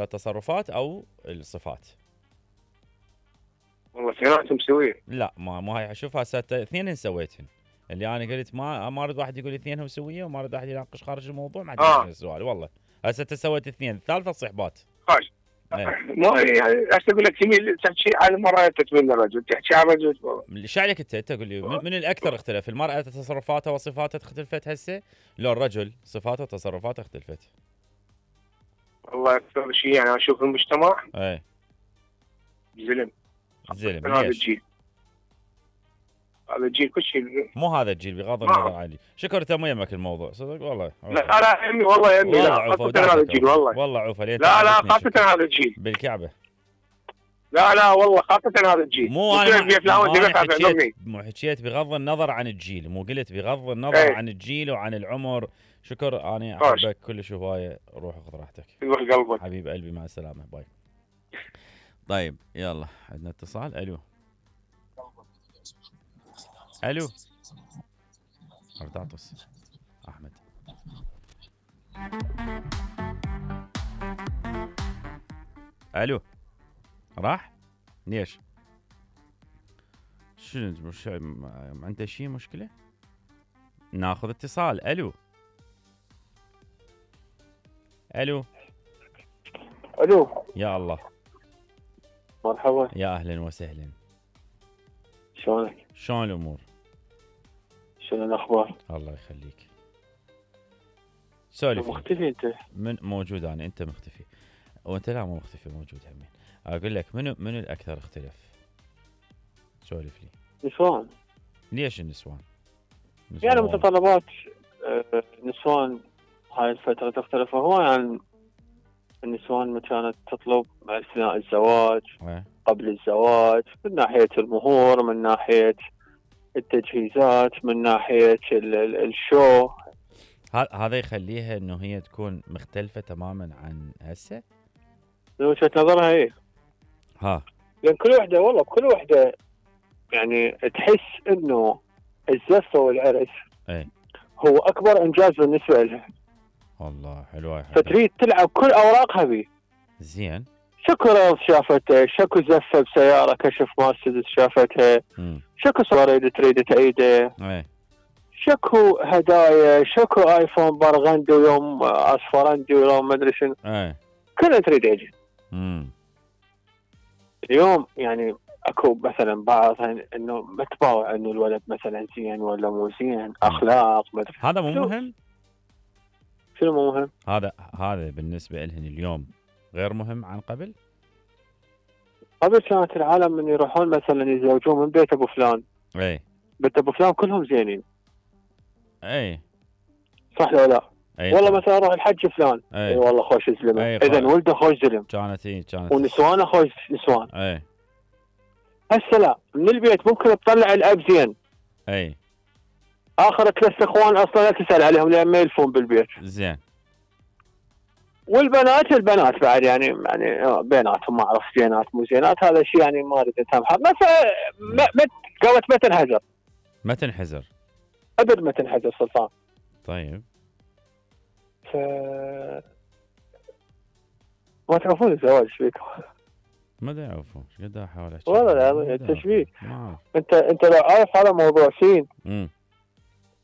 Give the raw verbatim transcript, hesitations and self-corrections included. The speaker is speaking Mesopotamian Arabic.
التصرفات او الصفات؟ والله اثنيناتهم سويه. لا ما ما هي شوف هسه اثنين سويتهن. اللي انا قلت ما ما اريد واحد يقول اثنينهم سويه وما اريد واحد يناقش خارج الموضوع ما عندي آه. مشكله السؤال والله. هسه انت سويت اثنين، الثالثه صحبات. خاش ما يعني هسه اقول لك تميل تحكي على المراه تتمنى الرجل، تحكي على الرجل. ايش عليك انت؟ انت قول لي من الاكثر اختلف؟ المراه تصرفاتها وصفاتها اختلفت هسه؟ لو الرجل صفاته وتصرفاته اختلفت؟ والله اكثر شيء يعني اشوف المجتمع اي زلم. زلم هذا ليش؟ الجيل هذا الجيل كل شيء مو هذا الجيل بغض النظر عني. شكر تم يمك الموضوع صدق والله. لا لا يمي والله يمي لا خاصة هذا الجيل والله. والله عوفه لا لا خاصة هذا الجيل بالكعبة. لا لا والله خاصة هذا الجيل. مو انا ما حكيت مو حكيت بغض النظر عن الجيل، مو قلت بغض النظر ايه. عن الجيل وعن العمر. شكر انا احبك كلش هوايه. روح خذ راحتك قلبك حبيب قلبي مع السلامه باي. طيب يلا عندنا اتصال. الو الو ارتعطس احمد. الو راح ليش؟ شنو مش عنده شيء مشكله؟ ناخذ اتصال. الو الو الو يا الله مرحبا يا اهلا وسهلا. شلونك؟ شلون الامور؟ شنو الاخبار؟ الله يخليك. سولف. مختفي انت؟ من موجود انا انت مختفي وانت لا مو مختفي موجود همين. اقول لك منو منو الاكثر اختلف؟ سولف لي. نسوان. ليش النسوان؟ نسوان يعني متطلبات نسوان هاي الفترة تختلف هو عن النسوان ما كانت تطلب اثناء الزواج أه. قبل الزواج، من ناحية المهور، من ناحية التجهيزات، من ناحية الشو. هذا يخليها انه هي تكون مختلفة تماما عن هسه؟ من وجهة نظرها ايه. ها لان كل وحدة والله كل وحدة يعني تحس انه الزفة والعرس ايه هو اكبر انجاز بالنسبة لها. والله حلوة. فتريد تلعب كل اوراقها بيه. زين. شكو رياض شافته، شكو زفة بسيارة كشف مرسيدس شافتها، مم. شكو صورة تريد تعيده، ايه. شكو هدايا، شكو ايفون برغندي ويوم اصفرندي ويوم ما ادري شنو. ايه. كلها تريد يجي. امم اليوم يعني اكو مثلا بعض انه ما تباوع انه الولد مثلا زين ولا مو زين، اخلاق ما ادري. هذا مو مهم؟ شنو مو مهم؟ هذا هذا بالنسبة لهن اليوم غير مهم عن قبل؟ قبل كانت العالم من يروحون مثلا يتزوجون من بيت ابو فلان. اي. بيت ابو فلان كلهم زينين. اي. صح ولا لا؟ أي والله طبعا. مثلا اروح الحج فلان. اي اي والله خوش زلمه. اذا ولده خوش زلم. كانت اي كانت. ونسوانه خوش نسوان. اي. هسه لا، من البيت ممكن تطلع الاب زين. اي. اخر ثلاث اخوان اصلا لا تسال عليهم لان ما يلفون بالبيت. زين. والبنات البنات بعد يعني يعني بيناتهم ما اعرف زينات مو زينات، هذا شيء يعني ما اريد اسامحه. مثلا ما قالت ما تنحزر. ما تنحزر. ابد ما تنحزر سلطان. طيب. ف ما تعرفون الزواج ايش فيكم؟ ما ادري اعرفون ايش قد احاول احكي. والله لا انت ايش فيك؟ ما انت انت لو عارف هذا موضوع سين. امم